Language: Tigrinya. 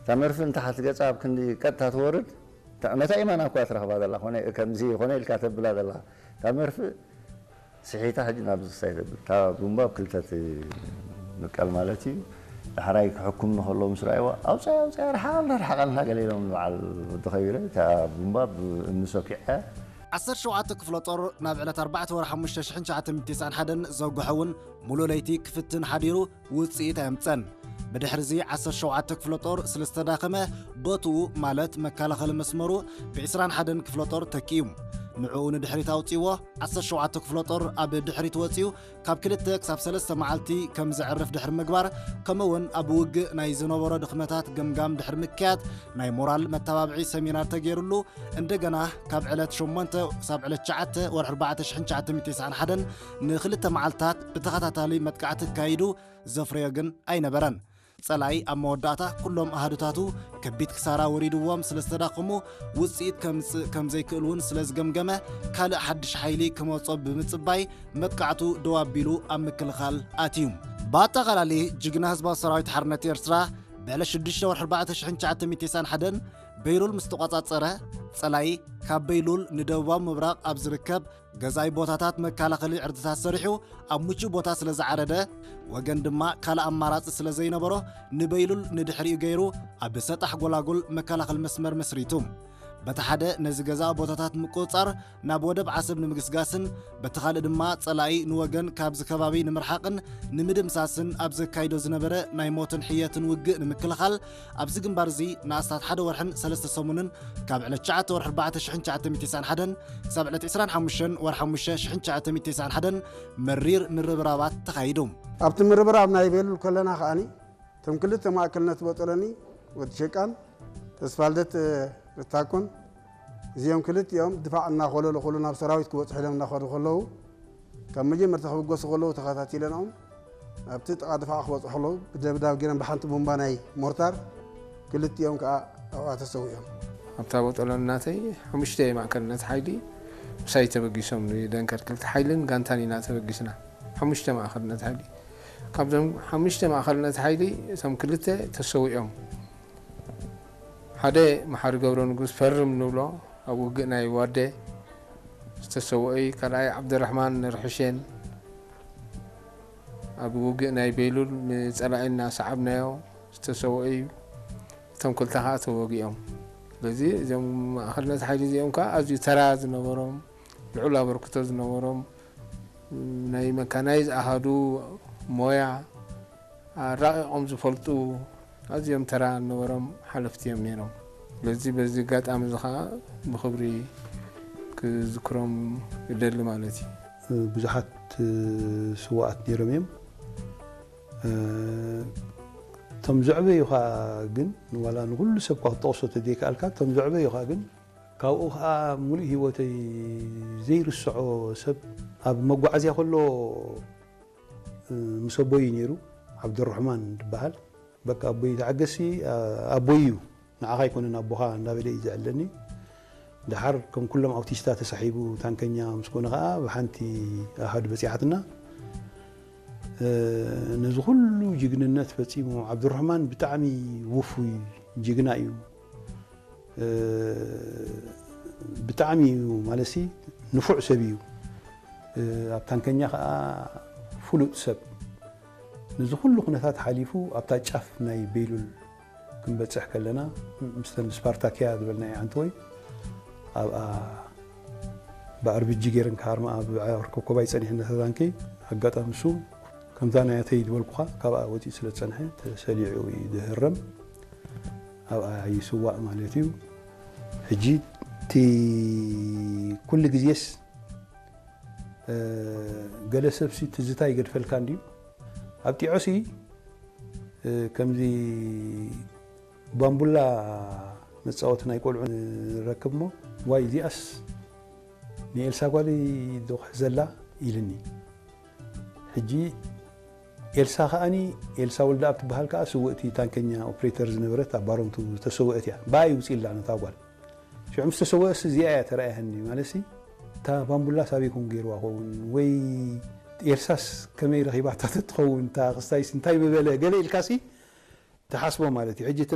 እታ መርፍእ እንተሓት ገጻ ኣብ ክንዲ ቀጥታ ትወርድ፣ እታ መታ ኢማና እኳ ትረኽባ ዘላ፣ ኮነ፣ ከምዚ ኮነ ኢልካ ተብላ ዘላ። እታ መርፍእ ስሒታ ሕጂ ናብ ዝሳይ ተብል። እታ ቡምባ ኣብ ክልተ ትምቀል ማለት እዩ። ዳሕራይ ክሕኩም ንኸሎ ምስ ረኣይዋ፣ "ኣውፅኣያ፣ ኣውፅኣያ፣ ርሓቐልና፣ ርሓቐልና" ገለ ኢሎም፣ በዓል ወዲ ከቢረ፣ እታ ቡምባ ብእምኒ ሰኪዐ። ዓሰርተ ሸውዓተ ክፍለ ጦር ናብ ዕለት ኣርባዕተ ወርሒ ሓሙሽተ ሽሕን ትሽዓተ ሚእትን ተስዓን ሓደን ዘጉሐ እውን፣ ሙሉእ ለይቲ ክፍትን ሓዲሩ ውፅኢት ኣየምፀን። ብድሕርዚ ዓሰርተ ሸውዓተ ክፍለ ጦር ስለ ዝተዳኸመ፣ ቦትኡ ማለት መከላኸሊ መስመሩ ብ ዕስራን ሓደን ክፍለ ጦር ተኪኡ። ንዕኡ ንድሕሪት ኣውፂዎ። ዓሰርተ ሸውዓተ ክፍለ ጦር ኣብ ድሕሪት ወፂኡ፣ ካብ ክልተ ክሳብ ሰለስተ መዓልቲ ከም ዘዕርፍ ድሕሪ ምግባር፣ ከምኡ እውን ኣብ ውግእ ናይ ዝነበሮ ድኽመታት ገምጋም ድሕሪ ምክያድ፣ ናይ ሞራል መተባብዒ ሰሚናር ተገይሩሉ፣ እንደገና ካብ ዕለት ሸሞንተ ክሳብ ዕለት ትሽዓተ ወርሒ ኣርባዕተ ሽሕን ትሽዓተ ሚእትን ተስዓን ሓደን ንኽልተ መዓልታት ብተኸታታሊ መጥቃዕቲ ኣካይዱ፣ ዘፍረዮ ግን ኣይነበረን። ጸላኢ ኣብ መወዳእታ ኩሎም ኣሃዱታቱ ከቢድ ክሳራ ወሪድዎም ስለ ዝተዳኸሙ፣ ውጽኢት ከምጽእ ከም ዘይክእል እውን ስለ ዝገምገመ፣ ካልእ ሓድሽ ሓይሊ ክመጾ ብምጽባይ፣ መጥቃዕቱ ደው ኣቢሉ ኣብ ምክልኻል ኣትዩ። ብኣጠቓላሊ፣ ጅግና ህዝባዊ ሰራዊት ሓርነት ኤርትራ፣ ብዕለት ሽዱሽተ ወርሒ ኣርባዕተ ሽሕን ትሽዓተ ሚእትን ተስዓን ሓደን በይሉል ምስ ተቖጻጸረ፣ ጸላኢ ካብ በይሉል ንደቡባዊ ምብራቕ ኣብ ዝርከብ ገዛኢ ቦታታት መከላኸሊ ዕርድታት ሰሪሑ ኣብ ምቹእ ቦታ ስለ ዝዓረደ፣ ወገን ድማ ካልእ ኣማራጺ ስለ ዘይነበሮ፣ ንበይሉል ንድሕሪኡ ገይሩ ኣብ ሰጣሕ ጎላጉል መከላኸሊ መስመር መስሪቱ። በቲ ሓደ ነዚ ገዛኢ ቦታታት ምቁጽጻር ናብ ወደብ ዓሰብ ንምግስጋስን፣ በቲ ካልእ ድማ ጸላኢ ንወገን ካብዚ ከባቢ ንምርሓቕን ንምድምሳስን ኣብ ዘካይዶ ዝነበረ ናይ ሞትን ሕየትን ውግእ ንምክልኻል፣ ኣብዚ ግንባር እዚ ንኣስታት ሓደ ወርሕን ሰለስተ ሰሙንን፣ ካብ ዕለት ትሽዓተ ወርሒ ኣርባዕተ ሽሕን ትሽዓተ ሚእትን ተስዓን ሓደን ክሳብ ዕለት ዕስራን ሓሙሽተን ወርሒ ሓሙሽተ ሽሕን ትሽዓተ ሚእትን ተስዓን ሓደን መሪር ምርብራባት ተኻይዱ። ኣብቲ ምርብራብ ናይ ቤሉል ከለና ከኣኒ፣ እቶም ክልተ ማእከልነት ቦጦሎኒ፣ ወዲ ሸቃን ተስፋልደት ርታኮን፣ እዚኦም ክልቲኦም ድፋዕ እናኾለሉ ከለዉ፣ ናብ ሰራዊት ክበጽሑ ኢሎም እናኸዱ ከለዉ፣ ካብ መጀመርታ ክብገሱ ከለዉ ተኸታቲለናኦም፣ ኣብቲ ጥቓ ድፋዕ ክበጽሑ ከለዉ፣ ብደብዳብ ገይሮም ብሓንቲ ቡምባ ናይ ሞርታር ክልቲኦም ከኣ ኣብኣ ተሰዊኦም። ኣብታ ቦጦሎኒ ናተይ ሓሙሽተ ማእከልነት ሓይሊ ምሳይ ተበጊሶም፣ ንደንከርክ ክልተ ሓይልን ጋንታን ኢና ተበጊስና። ሓሙሽተ ማእከልነት ሓይሊ። ካብዞም ሓሙሽተ ማእከልነት ሓይሊ እቶም ክልተ ተሰዊኦም። ሓደ መሓሪ ገብረ ንጉስ ፈርም ንብሎ፣ ኣብ ውግእ ናይ ዋደ ዝተሰወኢ፣ ካልኣይ ዓብደራሕማን ርሕሼን ኣብ ውግእ ናይ ቤሉል ንጸላኢ እናሰዓብናዮ ዝተሰወኡ እዩ። እቶም ክልተ ከኣ ተወጊኦም። ስለዚ እዞም ማእከልነት ሓይሊ እዚኦም ከኣ ኣዝዩ ተራ ዝነበሮም፣ ልዑል ኣበርክቶ ዝነበሮም፣ ናይ መካናይዝ ኣሃዱ ሞያ ኣራቒቖም ዝፈልጡ፣ ኣዝዮም ተራ ዝነበሮም ሓለፍቲ እዮም ነይሮም። ስለዚ በዚ ኣጋጣሚ እዚ ከኣ ብኽብሪ ክዝክሮም ይደሊ ማለት እዩ። ብዙሓት ስዋኣት ነይሮም እዮም። እቶም ዘዕበዩ ኸኣ ግን፣ ዋላ ንኹሉ ሰብ እኳ ክትጠቕሶ ተዘይከኣልካ፣ እቶም ዘዕበዩ ኸኣ ግን፣ ካብኡ ኸኣ ሙሉእ ህይወተይ ዘይርስዖ ሰብ፣ ኣብ መጓዓዝያ ከሎ፣ እ፣ ምስ ኣቦይ ነይሩ፣ ዓብዱራሕማን ዝበሃል። በቃ ኣቦይ ተዓገሲ፣ ኣ-፣ ኣቦይ እዩ፣ ንዓኻ ኣይኮነን ኣቦኻ እንዳበለ እዩ ዘዕለኒ። ደሓር ከም ኩሎም ኣውቲስታ ተሳሒቡ ታንከኛ ምስ ኮነ ኸኣ ብሓንቲ ኣሃዱ በጺሓትና። እ፣ ነዚ ኩሉ ጅግንነት ፈጺሙ፣ ዓብዱራሕማን ብጣዕሚ ውፉይ ጅግና እዩ። እ፣ ብጣዕሚ እዩ ማለትሲ ንፉዕ ሰብ እዩ። እ፣ ኣብ ታንከኛ ኸኣ ፍሉጥ ሰብ። ነዚ ኩሉ ኩነታት ሓሊፉ ኣብታ ጫፍ ናይ ቤሉል ክንበጽሕ ከለና፣ ምስ፣ ምስ ስፓርታክያ ዝበልናዮ ዓንተወይ ኣብኣ ብኣርቢጂ ገይረን ክሃርማ ኣብ ኮኮባይ ጸኒሐን ነታ ታንኪ። ኣጋጣሚ እሱ ከምዛ ናያተይ ዝበልኩኻ ካብኣ ወጺኡ ስለ ዝጸንሐ ተሰሊዑ እዩ ዝህረም። ኣብኣ ይስዋእ ማለት እዩ። ሕጂ እቲ ኩሉ ግዜስ፣ እ፣ ገለ ሰብሲ ትዝታ ይገድፈልካ እንድዩ። ኣብ ጢዖሲ፣ እ፣ ከምዚ ባምቡላ መጻወቲ ናይ ቆልዑ ንረክብ እሞ፣ "ዋይ፣ እዚኣስ ንኤልሳ ጓለይ ዶ ክሕዘላ?" ኢልኒ። ሕጂ ኤልሳ ከኣኒ፣ ኤልሳ ወልደኣብ ትበሃል ከኣ ስውእቲ ታንከኛ ኦፕሬተር ዝነበረት ኣብ ባሮንቱ ዝተሰወአት እያ። ብኣ ይውፅእ ኢላ ነታ ጓል። ሽዑ ምስ ተሰወአስ እዚኣ እያ ተራእያኒ። ማለትሲ፣ እታ ባምቡላስ ኣበይ ኮን ገይርዋ ኸውን? ወይ ኤልሳስ ከመይ ረኺባታ ተትኸውን? እታ ክስታይስ እንታይ ምበለ? ገለ ኢልካሲ ትሓስቦ ማለት እዩ። ሕጂ እቲ